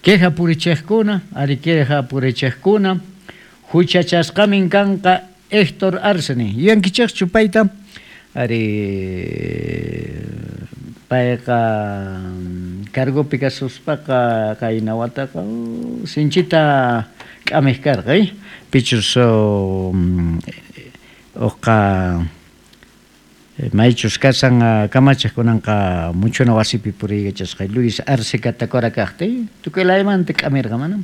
Queja purichejkuna, ari queja purichejkuna, huchachasqamin kanqa Héctor Arce nin. Yuyankichejchu payta? Ari payqa cargopi kasuspaqa qayna wataqa sinchita k'amej karqa, pichus uqqa maychus kashan kamachej kunanqa muchuna wasipi puriykachasqa Luis Arce Catacora kajta, tukuy laymanta k'amirqa mana.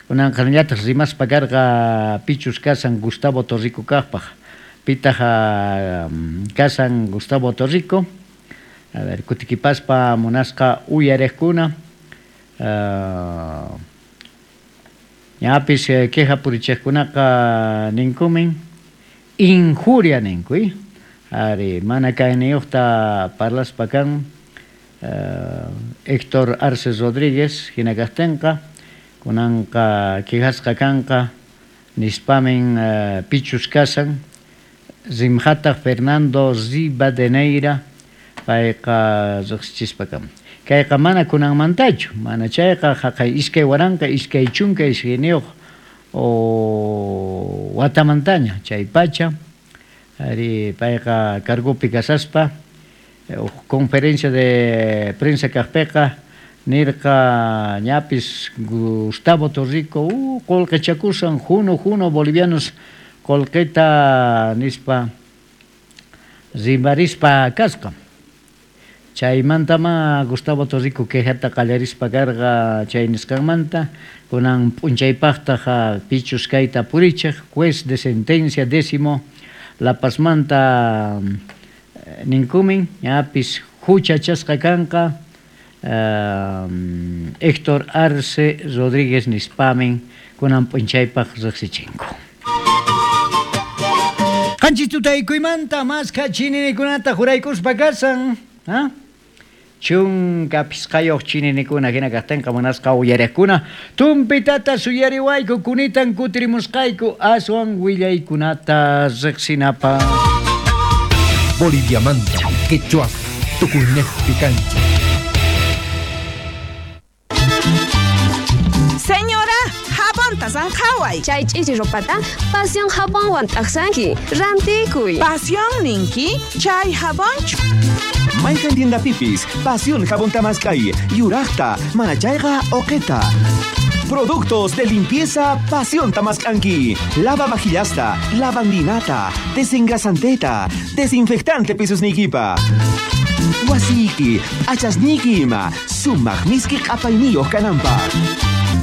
Kunanqa nillataj rimaspa karqa pichus kashan Gustavo Torrico kajpaj. Pitaj kashan Gustavo Torrico. A ver, kutikipaspa munasqa uyarejkuna. Ñapis queja purichejkunaqa ninkumin injuria ninku, ari mana kayniyuqta parlaspa kan Héctor Arce Rodríguez hina kajtinqa kunanqa quejasqa kanqa nispamin pichus kashan rimhataq Fernando Rivadeneira payqa riqsichispa kan. Kayqa mana kunanmantachu, mana chayqa jaqay 2022 watamantaña chay pacha ari payqa cargopi kasaspa conferencia de prensa kajpiqa nirqa ñapis Gustavo Torrico qolqechakusan juno juno bolivianos qolqeta nispa rimarispa kasqa. Chaymantama Gustavo Torrico quejata qallarispa karqa chay nisqanmanta kunan p'unchaypaqtaq pichus kayta purichej juez de sentencia décimo La Pazmanta ninkumin ñapis huchachasqa kanqa Héctor Arce Rodríguez nispamin kunan p'unchaypaq riqsichinku. Qanchis tutaykuymanta maskha chininikunata juraykuspa kasan, Chunka phisqayuq chininikuna hina kajtinqa munasqa uyariqkuna tumpitata suyariwayku kunitan kutirimusqayku aswan willaykunata riqsinapaq. Boliviamanta, quechua, tukuynejpi kanchej. Señora, jabonta sanqhaway. Chay ch'ichi ropata Pasión jabonwan t'aqsanki. Rantikuy. Pasión ninki, chay jabonchu. Mayqan tiendapipis, Pasión jabonta mask'ay, yuraqta, mana chayqa uqita. Productos de limpieza Pasión tamask'anki. Lava vajillasta, lavandinata, desengrasanteta, desinfectante pisusniykipa. Wasiyki, p'achasniyki ima, sumaq miski q'apayniyuq kananpaq.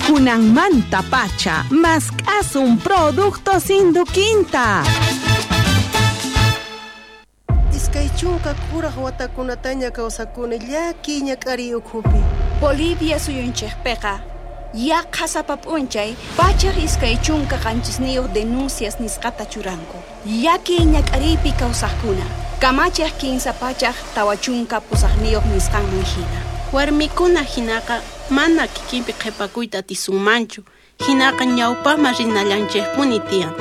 Kunanmanta pacha, mask'asun productos Induquinta. 20 kuraj watakunataña kawsakuni llakiy ñak'ariy ukhupi. Bolivia suyunchikpiqa yaqha sapa p'unchay 127 denuncias nisqata churanku. Llakiy ñak'ariypi kawsaqkuna kamachiq 348 nisqanman hina. Warmikuna hinaqa mana kikinpi qhipakuyta atisunmanchu, hinaqa ñawpaqman rinallanchikpuni tiyan.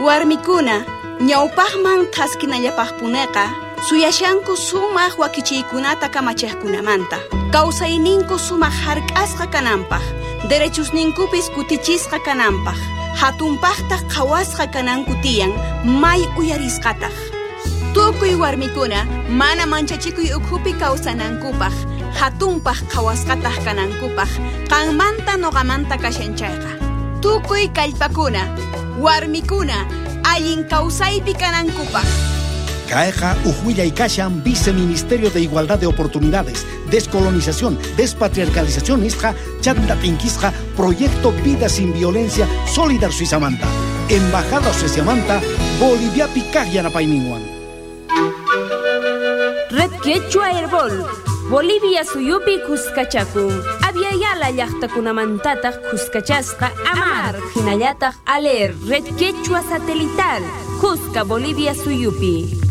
Warmikuna ñawpaqman thaskinallapaqpuneqa suyashanku sumaq wakichiykunata kamachiqkunamanta. Kawsayninku sumaq hark'asqa kananpaq, derechusninkupis kutichisqa kananpaq, hatunpaqtaq qhawasqa kananku tiyan may uyarisqataq. Tukuy warmikuna mana manchachikuy ukhupi kawsanankupaq, hatunpaq qhawasqataq kanankupaq, qanmanta noqamanta kashan chayqa. Tukuy kallpakuna, warmikuna, allin kawsaypi kanankupaq. Kayqa uj willay kashan Viceministerio de Igualdad de Oportunidades, Descolonización, Despatriarcalización nisqa chanta t'inkisqa Proyecto Vida Sin Violencia Solidar Suizamanta, Embajada Sueziamanta, Boliviapi kaq yanapayninwan. Red Quechua Herbol, Bolivia suyupi kuskachakun. Aviala llaqtakunamantataq kuskachasqa Amar, hinallataq Aler, Red Quechua Satelital, Cusca, Bolivia suyupi.